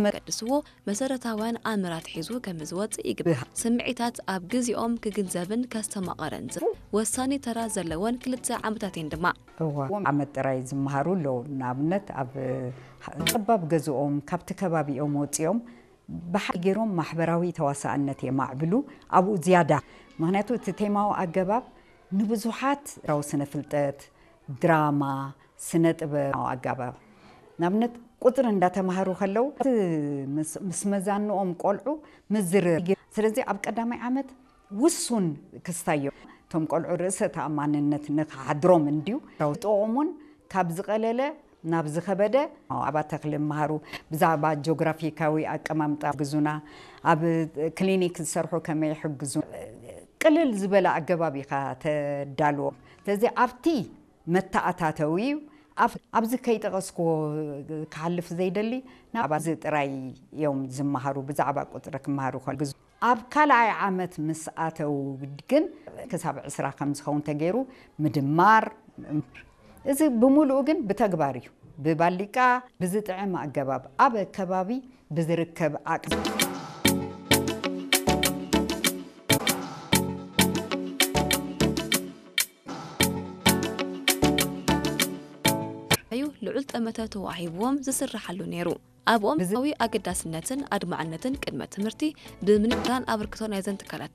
መገድስዎ መሰረታውያን ኣምራት ሒዙ ከም ዝወፅእ ይግባእ። ስምዒታት ኣብ ግዜኦም ክግንዘብን ከስተማቐረን ዝ- ወሳኒ ተራ ዘለወን ክልተ ዓመታት እየን ድማ። እዋ ዓመት ጥራይ ዝመሃሩ ኣለዉ። ንኣብነት ኣብ ጠባብ ገዝኦም ካብቲ ከባቢኦም ወፂኦም ብሓ ገይሮም ማሕበራዊ ተዋሳእነት የማዕብሉ። ኣብኡ ዝያዳ ምክንያቱ እቲ ቴማዊ ኣገባብ ንብዙሓት ራዊ ስነ ፍልጠት፣ ድራማ፣ ስነ ጥበብ ኣገባብ ንኣብነት ቁፅሪ እንዳተማሃሩ ከለዉ እቲ ምስ- ምስ መዛንኦም ቆልዑ ምዝርር። ስለዚ ኣብ ቀዳማይ ዓመት ውሱን ክስታዮ እቶም ቆልዑ ርእሰ ተኣማንነት ንክሓድሮም እንድዩ ጥቕሙን ካብ ዝቐለለ ናብ ዝኸበደ ኣብ ኣተክሊ መሃሩ ብዛዕባ ጂኦግራፊካዊ ኣቀማምጣ ግዙና ኣብ ክሊኒክ ዝሰርሑ ከመይ ይሕግዙ ቅልል ዝበለ ኣገባብ ኢኻ ተዳልዎ። ስለዚ ኣብቲ መተኣታተዊ እዩ። ኣብ- ኣብዚ ከይጠቐስክዎ ክሓልፍ ዘይደሊ ናባዚ ጥራይ እዮም ዝመሃሩ። ብዛዕባ ቁፅሪ ክመሃሩ ከሉ ግዙ ኣብ ካልኣይ ዓመት ምስ ኣተው ግን ክሳብ ዕስራ ከም ዝኸውን ተገይሩ ምድማር እዚ ብምሉኡ ግን ብተግባር እዩ። ብባሊቃ ብዝጥዕም ኣገባብ ኣብ ከባቢ ብዝርከብ ዓቅሚ እዩ ልዑል ጠመተ ተዋሂብዎም ዝስርሓሉ ነይሩ። ኣብኦም ብዛዊ ኣገዳስነትን ኣድማዕነትን ቅድመ ትምህርቲ ብምንዳን ኣበርክቶ ናይዘን ትካላት